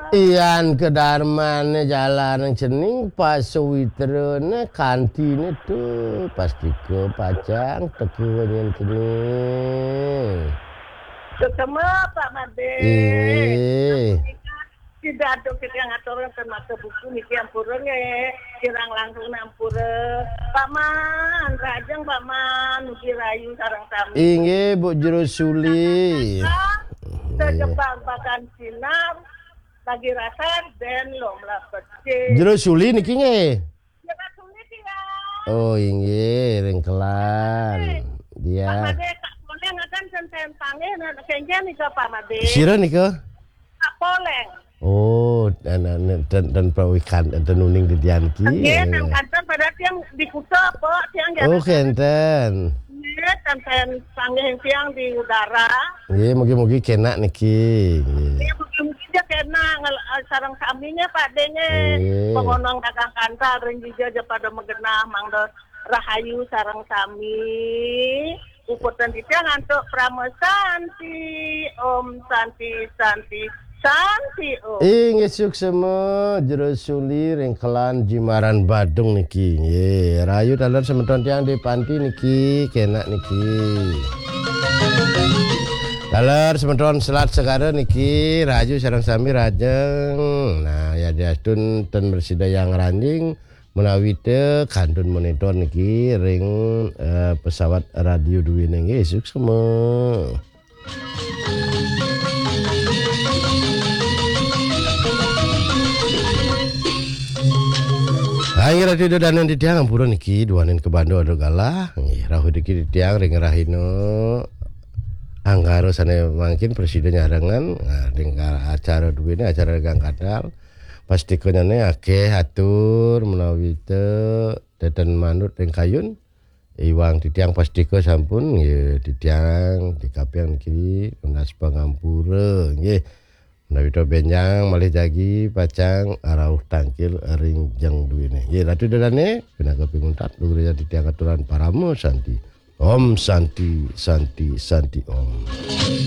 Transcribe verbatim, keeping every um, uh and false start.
Yan kedarmane jalaning cening, pasuwitrane kantine tu, pastika pacang teka nyen cening. Sesama, Pak Made. Inggih. Sida aduh kita ngaturang ten mata buku niki ampura nggih. Kirang langkung ampura. Pak Man, rahajeng Pak Man, mugi rahayu sareng sami. Inggih, Bu Jero Suli. Sejebak bakan sinar, lagi rasa den lom lapet. Jero Suli niki nggih. Jero Suli, tiang. Oh, inggih, ring Kelan. Pak Dia. Made, Kak Poleng akan ten, ten panggih, nah, kenjen nika, Pak Made. Sira nika? Kak Poleng. Oh, dan, dan, dan, dan Pak Wikan, dan uning didian ki. Nggih, ten kanten pada tiang di Kuta, Pak, tiang Oh, jalan. Kenten. Nggih, ten, ten panggih tiang di udara. Nggih, mugi-mugi kenak niki. Nggih. Nggih, mugi-mugi aja kenak ngel-, eh, sareng sami nggih, Pak De nggih. Nggih. Pengonong dagang kantal ring dija aja pada magenah, mangda rahayu sareng sami. Puputang titiang antuk Parama Santi. Om Santi, Santi, Santi Om. Inggih, suksema, Jero Suli ring Kelan Jimbaran Badung niki. Nggih, rahayu taler semeton tiang di panti niki, kenak niki. Taler semeton Selat Segara niki, rahayu sareng sami rahajeng. Nah, yadiastun ten mresida yang ranjing, menawi te kantun monitor niki ring, eh, pesawat Radio Dwi niki, suksema. Hai, Ratu Ida Danen titiang ampura niki, duaning kabanda ada galah. Nggih, rauh niki titiang ring rahina Anggara sane mangkin prasida nyarengan, nah, ring acara duene, acara dagang kadal. Pastikanyane akeh atur menawi te teten manut ring kayun. Iwang titiang pastika sampun, ya, titiang di kapiang niki nunas pangampura, nggih. Menawi to benjang malih jagi pacang rauh tangkil ring jeng duene. Nggih, Ratu Ida Dane, pinaka pinguntat, lugrayang titiang aturan Parama Santi. Om Santi, Santi, Santi Om.